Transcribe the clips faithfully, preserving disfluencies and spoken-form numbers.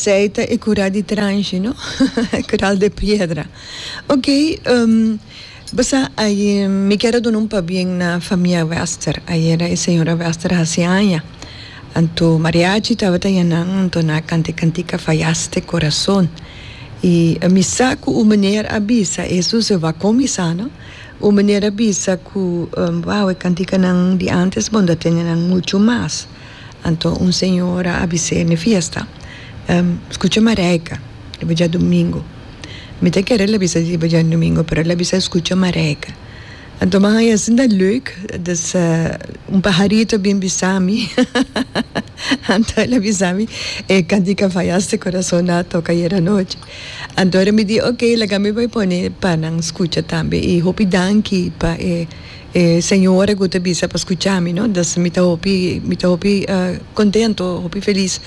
Esey ta e cura di transhi, no? Coral de piedra. Ok, um, basta ay, mi kier duna un pabien na famia Wester. Ayera e señora Wester a haci aña. Anto mariachi tabata nan, anto nan a canta cantica "Fallaste Corazón". Y mi sa cu e meneer a bisa, eso se va cuminsa, no? E meneer a bisa cu um, wow, e cantica nan di antes bon da tene nan mucho mas. Anto un señora a bisa na fiesta. Um, scucha Mareika, riba diadomingo. Mi ta kere el a bisa riba diadomingo, pero el a bisa scucha Mareika. Anto m'a haya asina leuk, dus uh, un pajarito bin bisa mi. Anto el a bisa mi, e cantica "Fallaste Corazón" a toca ayera nochi. Anto mi di, ok, laga mi bay pone pa nan scucha tambe. Y hopi danki pa e eh, señora cu ta bisa pa scucha mi, no? Dus mi ta hopi, mi ta hopi uh, contento, hopi feliz.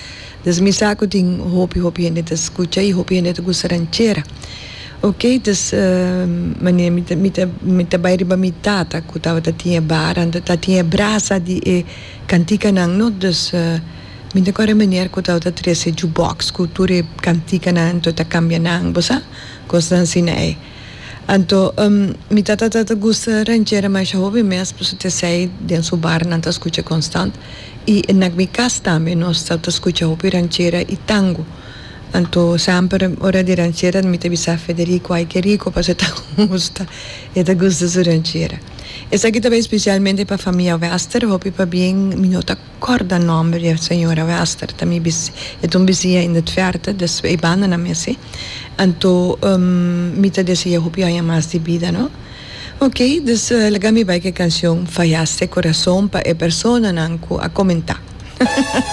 Dus mi sa cu tin hopi hopi hende ta scucha y hopi hende ta gusta ranchera. Ok, dus uh, meneer mi ta mi ta mi ta bay riba mi tata cu tabata tin bar, anto ta tin brasa di e cantica nan, no? Dus uh, mi ta corda meneer cu tabata trece jukebox cu tur e cantica nan, anto ta cambia nan, bo sa? Cos asina ey. Anto, um, mi tata tata gusta ranchera mas hopi mes, pasobra ta esey den su bar nan ta scucha constant. Y na mi cas tambe nos ta scucha hopi ranchera y tango. Anto semper ora di ranchera mi ta bisa Federico, ai que rico, pasobra e ta gusta, e ta gusta su ranchera. Esaki tambe specialmente pa famia Wester, hopi pabien, mi no ta corda nomber di señora Wester, tambe bis, e un bisiña in het verte, dus e banda na mesa. Anto um, mi ta desea hopi aña mas di bida, no? Ok, dus uh, laga mi bay cu e cancion "Fallaste Corazón" pa e persona nan cu a comenta.